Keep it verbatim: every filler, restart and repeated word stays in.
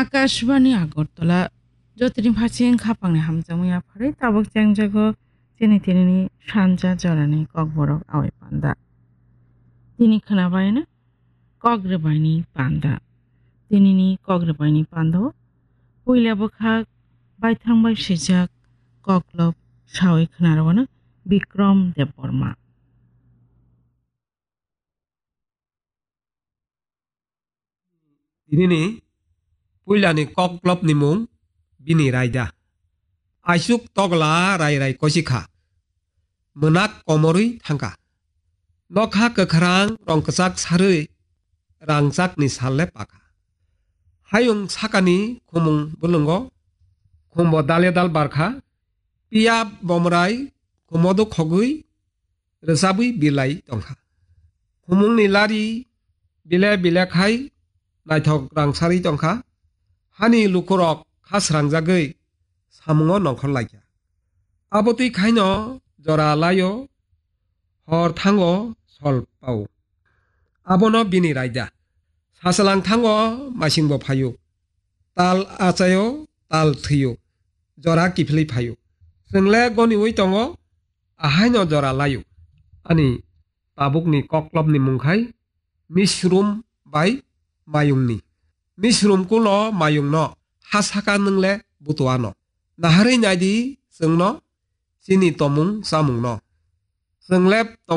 Akashbani Agartala, jotoni phasing khapangni hamjakmung yapharwi tabuk chengjago chini tinini sanja jorani kokborok awai panda. Tini khwnabaino kok rwbaini panda. Tinini kok rwbaini pando puila bwkhak baithang bai swijak koklop sawi khwnarwano Bikram Debbarma. Tinini puilani koklopni mung bini raida. Aisuk togla rai rai kosikha. Mwnak komorwi thangkha. Nokha kwkhrang rong kwchak sarwi rangchakni salle pakha. Hayung sakani khumung bwlwngo khumbo dale dal barkha. Piya bomrai khumodo khogwi rwchabwi bilai tongkha. Khumungni lari bile bile khai naithok rangsarwi tongkha. Hani lukurok kha srangjagwi samungo nongkhor laikha. Abotwi khaino jora laio, hor thango sol pao. Abono bini raida. Sasalang thango masingbo phaio. Tal achaio, tal thwio. Jora kiphilwi phaio. Chwngle goniwi tongo, ahaino jora laio. Ani tabukni koklopni mungkhai Misrum bai Mayungni. Misrum kulo Mayungno ha saka nwngle butuano. Naharwi naidi chwngno chini tomung chamungno. Chwngle tongo